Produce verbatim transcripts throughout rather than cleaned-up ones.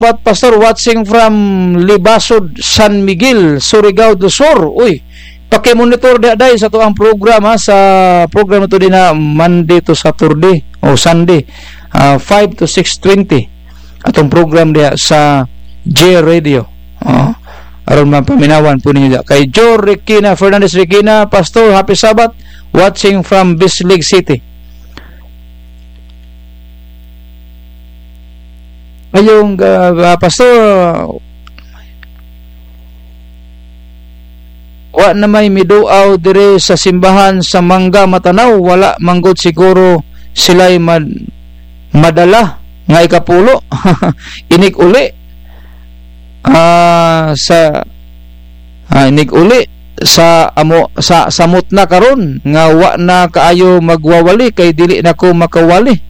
Pat Pastor, watching from Libasod, San Miguel, Surigao do Sur. Uy, paki-monitor diha, day, sa atoang programa, sa programa to din na Monday to Saturday o Sunday, ah, five to six twenty. Atong program diha sa J Radio. Oh, aron mapaminawan po ninyo diha. Kay Joe Requina, Fernandez Requina, Pastor, happy Sabbath, watching from Bislig City. Ayong, ah, ah, Pastor, wa na may miduaw dire sa simbahan sa Mangga, Matanao. Wala manggod siguro sila'y mad-, madala nga ikapulo. Inig uli, ah, sa, ah, inig uli sa amo, sa samot na karon nga wa na kaayo magwawali kay dili na ko makawali.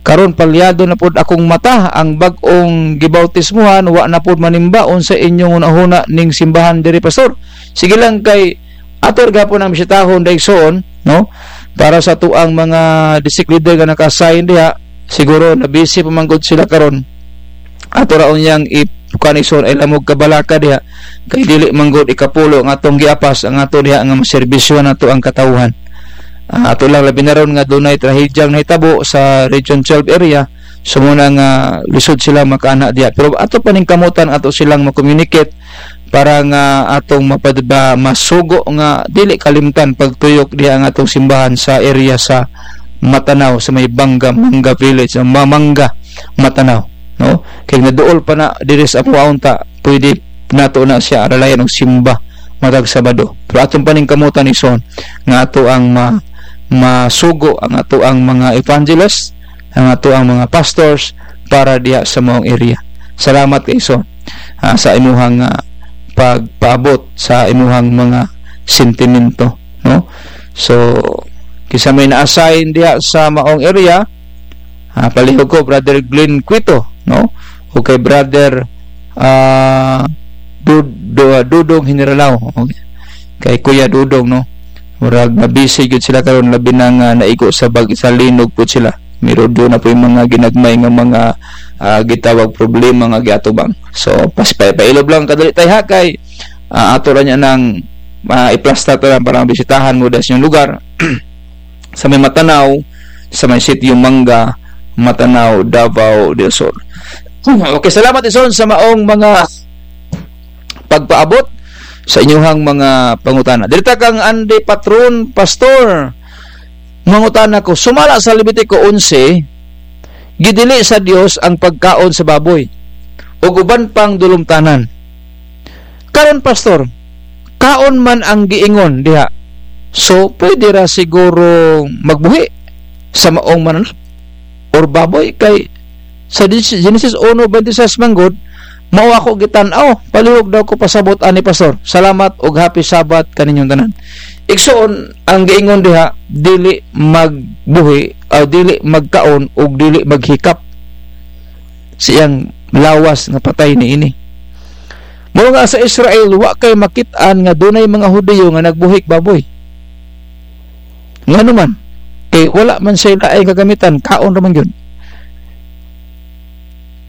Karon palyado na pod akong mata, ang bag-ong gibautismohan wa na pod manimba. Unsa inyong hunahuna ning simbahan diri, Pastor? Sige lang, kay ator gapon ang bisitahon, daigsoon, no? Para sa tuang mga district leader nga naka-assign diha, siguro na busy pa man gud sila karon. Ato raon yang ip-, kuan, igsoon, ay lamog kabalaka diha, kay dili man gud ikapulo ang atong giapas, ang ato diha nga maserbisyo nato ang katawhan. Ah, ato lang labi na ron nga dunay trahedyang nahitabo sa Region twelve area, so muna nga lisod sila makaanha diha. Pero ato paningkamutan, ato silang ma-communicate para nga atong mapad-, ba-, masugo nga dili kalimtan pagtuyok diha ang atong simbahan sa area sa Matanao, sa may Banga, Manga Village, sa Ma-, Manga, Matanao, no? Kay naduol pa na diri sa apuaon ta, pwede nato na siya aralayan og simba matag Sabado. Pero atong paningkamutan, igsoon, nga ato ang ma-, masugo ang ato ang mga evangelist, ang ato ang mga pastors para diha sa maong area. Salamat kay igsoon, ah, sa imuhang, ah, pagpaabot sa imuhang mga sentimento, no? So, kinsa may na-assign diha sa maong area, ah, palihog ko, Brother Glenn Quito, no? O kay Brother, ah, Dud-, Du-, Dudong Generalao. Okay. Kay Kuya Dudong, no? Murag na-busy gyud sila karon, labi na nga naigo sa bag-, sa linog po sila. Meron doon na po yung mga ginagmay nga mga, ah, gitawag problema nga giatubang. So, pas-, pa-, pailob lang kadali tayo, ha, kay, ah, ato ra niya nang, ah, iplasta ta lang para bisitahan mo das yung lugar. Sa may Matanao, sa may Sitio Mangga, Matanao, Davao del Sur. Okay, salamat, igsoon, sa maong mga pagpaabot sa inyuhang mga pangutana. Diri ta kang Andy Patron, Pastor, mangutana ko, sumala sa Levitico onse, gidili sa Dios ang pagkaon sa baboy ug uban pang dulomtanan. Karon, Pastor, kaon man ang giingon diha. So, pwede ra siguro magbuhi sa maong mananap or baboy kay sa Gen-, Genesis uno veintiséis manggod, mao ako gitan-aw. Palihog daw ko pasabot ani, Pastor. Salamat ug happy Sabbath kaninyong tanan. Igsoon, ang giingon diha, dili magbuhi, ah, dili magkaon ug dili maghikap siyang lawas nga patay niini. Mao nga sa Israel, wa kay makit-an nga dunay mga Hudiyo nga nagbuhik baboy. Ngano man? Kay wala man sila ay kagamitan, kaon ra man gyud.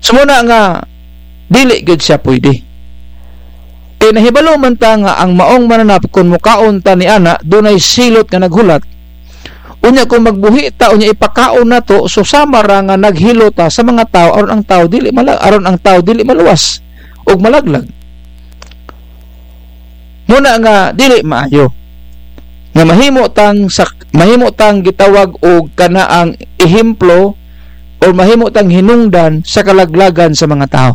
So, muna nga, dili gyud siya pwede. Kay nahibalo man ta nga ang maong mananap, kun mukaon ta ni ana, dunay silot nga naghulat. Unya, kung magbuhi ta, unya ipakaon nato, so sama ra nga naghilo ta sa mga tawo, aron ang tawo dili mala-, aron ang tawo dili maluwas ug malaglag. Muna nga dili maayo nga mahimo tang sak-, mahimo tang gitawag og kanaang ehemplo o mahimo tang hinungdan sa kalaglagan sa mga tawo.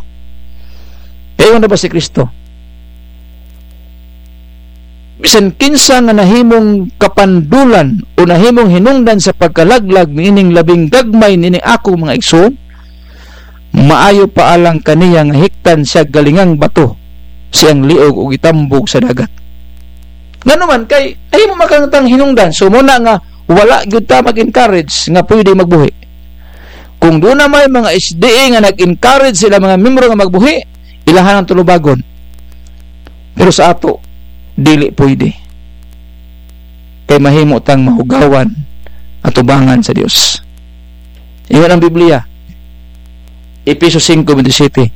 Kay na ba si Kristo? Bisan kinsa nga nahimong kapandulan o nahimong hinungdan sa pagkalaglag niining labing gagmay nini akong mga igsoon, maayo pa alang kaniya nga hiktan siya galingang bato, siyang liog ug itambog sa dagat. Ngano man, kay nahimo man kang tang hinungdan. So, muna nga, wala gyud ta mag-encourage nga pwede magbuhi. Kung doon na may mga S D A nga nag-encourage sila mga membro nga magbuhi, ilahan ang tulubagon. Pero sa ato, dili pwede. Kay mahimo tang mahugawan, atubangan sa Dios. Ingon ang Biblia, Efeso singko bentisiete,